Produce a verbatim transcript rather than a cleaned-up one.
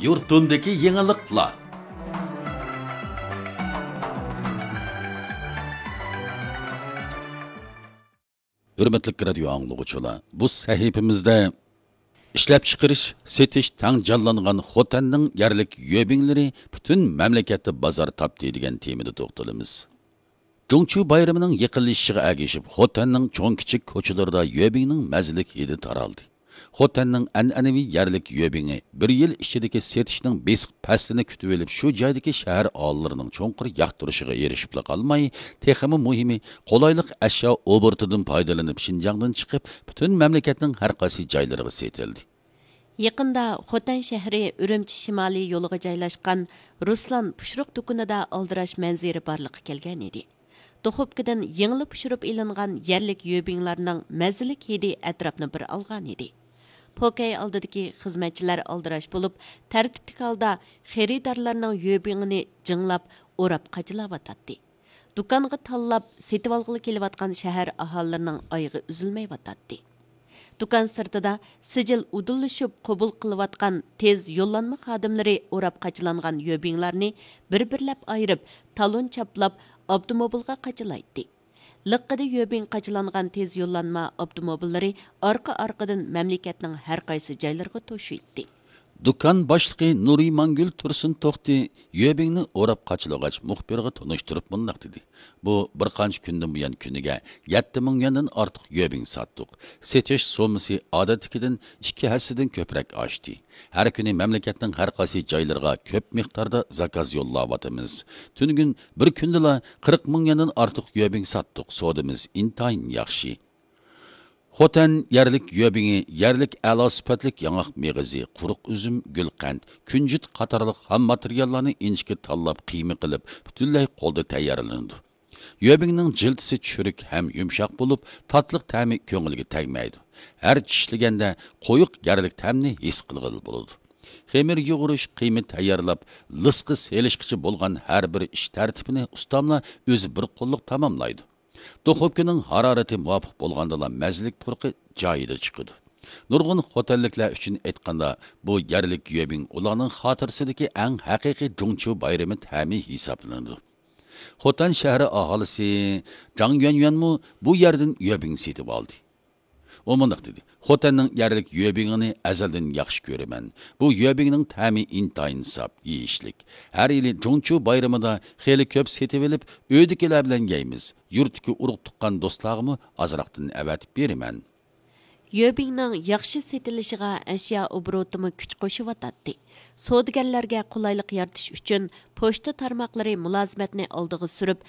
يۇرتۇمدىكى يېڭىلىقلار. ھۆرمەتلىك رادىيو ئاڭلىغۇچىلار، بۇ سەھىپىمىزدە ئىشلەپچىقىرىش، سېتىش تەڭ جانلانغان خوتەننىڭ يەرلىك يۆبىڭلىرى پۈتۈن مەملىكەتتە بازار تاپتى دېگەن تېمىدا توختىلىمىز. جۇڭچۇ بايرىمىنىڭ يېقىنلىشىشىغا ئەگىشىپ، خوتەننىڭ چوڭ-كىچىك كوچىلىرىدا يۆبىڭنىڭ مەززىلىك ھىدى تارالدى. خوتەننىڭ ئەنئەنىۋى يەرلىك يۆبىڭى بىر يىل ئىچىدىكى سېتىشنىڭ بېسىق پەسلىنى كۈتۈۋېلىپ، شۇ جايدىكى شەھەر ئاھالىلىرىنىڭ چوڭقۇر ياقتۇرۇشىغا ئېرىشىپلا قالماي، تېخىمۇ مۇھىمى، قولايلىق ئەشيا ئوبوروتىدىن پايدىلىنىپ، شىنجاڭدىن چىقىپ، پۈتۈن مەملىكەتنىڭ ھەر قايسى جايلىرىغا سېتىلدى. يېقىندا خوتەن شەھىرى ئۈرۈمچى شىمالىي يولىغا جايلاشقان رۇسلان پۇشۇرۇق دۇكىنىدا ئالدىراش مەنزىرە بارلىققا كەلگەن ئىدى. دۇخوپكىدىن يېڭىلا پۇشۇرۇپ ئېلىنغان يەرلىك يۆبىڭلارنىڭ مەززىلىك ھىدى ئەتراپنى بىر ئالغان ئىدى. پوكەي ئالدىدىكى خىزمەتچىلەر ئالدىراش بولۇپ، تەرتىپلىك ھالدا خېرىدارلارنىڭ يۆبىڭىنى جىڭلاپ، ئوراپ قاچىلاۋاتاتتى. دۇكانغا تاللاپ سېتىۋالغىلى كېلىۋاتقان شەھەر ئاھالىلىرىنىڭ ئايىغى ئۈزۈلمەيۋاتاتتى. دۇكان سىرتىدا سىجىل ئۇدۇللىشىپ قوبۇل قىلىۋاتقان تېز يوللانما خادىملىرى ئوراپ قاچىلانغان يۆبىڭلارنى بىر-بىرلەپ ئايرىپ، تالون چاپلاپ، ئاپتوموبىلغا قاچىلايتتى. لىققىدە يۆبىڭ قاچىلانغان تېز يوللانما ئاپتوموبىللىرى ئارقا-ئارقىدىن مەملىكەتنىڭ ھەر قايسى جايلىرىغا توشۇيتتى. دۇكان باشلىقى نۇرىمانگۈل تۇرسۇن توختى يۆبىڭنى ئوراپ قاچىلىغاچ، مۇخبىرغا تونۇشتۇرۇپ مۇنداق دېدى: «بۇ بىر قانچە كۈندىن بۇيان كۈنىگە يەتتە مىڭ يۈەندىن ئارتۇق يۆبىڭ ساتتۇق. سېتىش سوممىسى ئادەتتىكىدىن ئىككى ھەسسىدىن كۆپرەك ئاشتى. ھەر كۈنى مەملىكەتنىڭ ھەر قايسى جايلىرىغا كۆپ مىقداردا زاكاز يوللاۋاتىمىز. تۈنۈگۈن بىر كۈندىلا قىرىق مىڭ يۈەندىن ئارتۇق يۆبىڭ ساتتۇق. سودىمىز ئىنتايىن ياخشى.» خوتەن يەرلىك يۆبىڭى يەرلىك ئەلا سۈپەتلىك ياڭاق مېغىزى، قۇرۇق ئۈزۈم، گۈلقەنت، كۈنجۈت قاتارلىق خام ماتېرىياللارنى ئىنچىكە تاللاپ، قىيما قىلىپ، پۈتۈنلەي قولدا تەييارلىنىدۇ. يۆبىڭنىڭ جىلتىسى چۈرۈك ھەم يۇمشاق بولۇپ، تاتلىق تەمى كۆڭۈلگە تەگمەيدۇ. ھەر چىشلىگەندە قويۇق يەرلىك تەمنى ھېس قىلغىلى بولىدۇ. خېمىر يۇغۇرۇش، قىيما تەييارلاپ، لىسقا سېلىشقىچە بولغان ھەر بىر ئىش تەرتىپىنى ئۇستاملار ئۆزى بىر قوللۇق تاماملايدۇ. دۇخوپكىنىڭ ھارارىتى مۇۋاپىق بولغاندىلا مەززىلىك پۇرىقى جايىدا چىقىدۇ. نۇرغۇن خوتەنلىكلەر ئۈچۈن ئېيتقاندا، بۇ يەرلىك يۆبىڭ ئۇلارنىڭ خاتىرىسىدىكى ئەڭ ھەقىقىي جۇڭچۇ بايرىمى تەمى ھېسابلىنىدۇ. خوتەن شەھىرى ئاھالىسى جاڭ يۈەنيۈەنمۇ بۇ يەردىن يۆبىڭ سېتىۋالدى. ئۇ مۇنداق دېدى: «خوتەننىڭ يەرلىك يۆبىڭىنى ئەزەلدىن ياخشى كۆرىمەن. بۇ يۆبىڭنىڭ تەمى ئىنتايىن ساپ، يېيىشلىك. ھەر يىلى جۇڭچۇ بايرىمىدا خېلى كۆپ سېتىۋېلىپ، ئۆيدىكىلەر بىلەن يەيمىز. يۇرتتىكى ئۇرۇق-تۇغقان دوستلارغىمۇ ئازراقتىن ئەۋەتىپ بېرىمەن.» يۆبىڭنىڭ ياخشى سېتىلىشىغا ئەشيا ئوبوروتىمۇ كۈچ قوشۇۋاتاتتى. سودىگەرلەرگە قولايلىق يارىتىش ئۈچۈن، پوچتا تارماقلىرى مۇلازىمەتنى ئالدىغا سۈرۈپ،